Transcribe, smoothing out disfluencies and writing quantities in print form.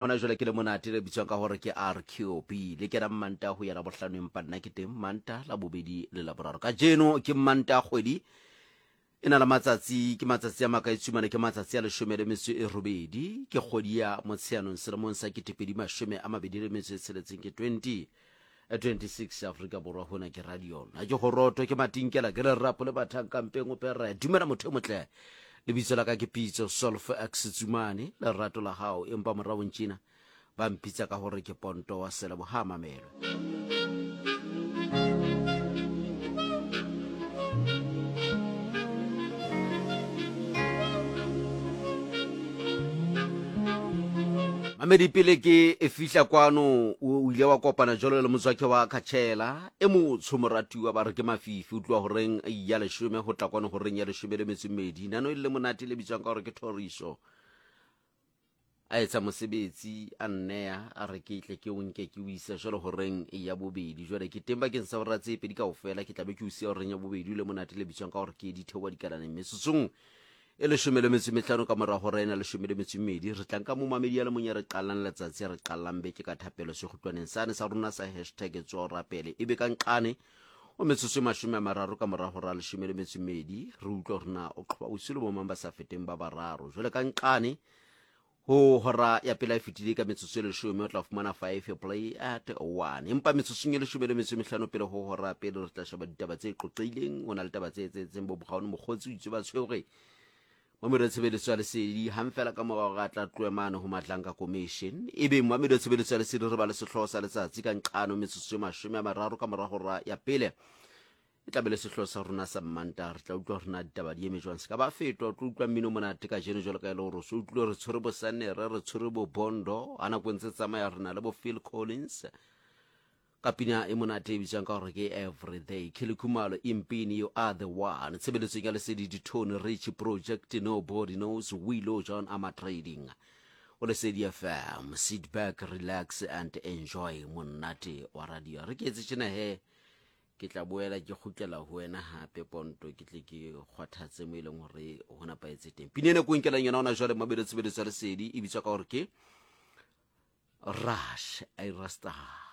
Hona jwale ke le monate le bitswang ka gore ke RQB le kena Mmanta ho ya Labohlano, empa nna ke teng Manta, Labobedi le Laboraro. Kajeno ke Mmanta, kgwedi e na le matsatsi, ke matsatsi a makae tsumane? Ke matsatsi a 18, ke kgwedi ya Motsheanong selemong sa 2026, ke 20 26. Afrika Borwa, hona ke radio. Na ke goroto, ke matinkela, ke lerapo le bathang kampeng o pere. Dumela motho e motle, lebitso la ka ke Pitso Solf X Tsumane, lerato la gago, empa moraong tšena ba mpitsa ka gore ke Ponto wa Selebo. Ha mamelwe. Mamedi, pele ke e fihla kwano o ile wa kopana jalo le motswakhe wa Khatšhela e motsho, moratiwa, ba re ke Mafifi. O tloa horeng ya 10 go tla kwano horeng ya 12. Nano e le monate le bitswang ka gore ke Thoriso. A etsa mosebetsi a nneya, a re ke tle ke o nke ke o ise jalo horeng ya bobedi. Jwale ke teng bakeng sa hora tse pedi kaofela, ke tlabe ke o siya horeng ya bobedi le monate le bitswang ka gore ke Ditheoa Dikalaneng. Metsotsong e 15 ka mora hora ena 12, re tlang ka momamedi ya le mong ya re qalang letsatsi, ya re qalang beke ka thapelo sekgutlwaneng sane sa rona sa hashtag tsoa rapele. E be ka nqane o metsotso e 30 ka mora hora 12, re utlwa gore na o qhoba bosiu le bomang ba sa feteng ba bararo. Jwale ka nqane ho hora ya pele e fetile ka metsotso e 10, o tla fumana five play at one. Empa metsotsong e 15 pele ho hora pele, re tla sheba ditaba tse qoqileng. Ho na le taba tse etsetseng bo bogaone mokgotsi o itse ba tshwere mamelo ya tshebeletso ya lesedi hang fela ka mora hore a tla tlohe mane ho Madlanga Commission. Ebe mamelo ya tshebeletso ya lesedi re ba le sehlooho sa letsatsi ka nqano metsotso e 30 ka mora hora ya pele, e tla be le sehlooho sa rona sa Mmanta. Re tla utlwa gore na ditaba di eme jwang, se ka ba fetwa. O tlo utlwa mmino monate ka jeno jalo ka e le gore o se utlwile re tshwere bo Sanere, re tshwere bo Bondo. A nako e ntse tsamaya re na le bo Phil Collins ka pina e monate e bitswang ka gore ke Everyday. Kelly Khumalo, Impini, You Are The One. Tshebeletsong ya lesedi, Ditone Rich Project, Nobody Knows, Willow John Ama Trading. O Lesedi FM, sit back, relax and enjoy monate wa radio. Re ke etse tjena he, ke tla boela ke kgutlela ho wena hape Ponto, ke tle ke kgwathatse mo e leng gore ho nepahetse teng. Pina ena ko nkelang yona ona jwale, mabelo tshebeletso ya lesedi, e bitswa ka gore ke Rush Irasta.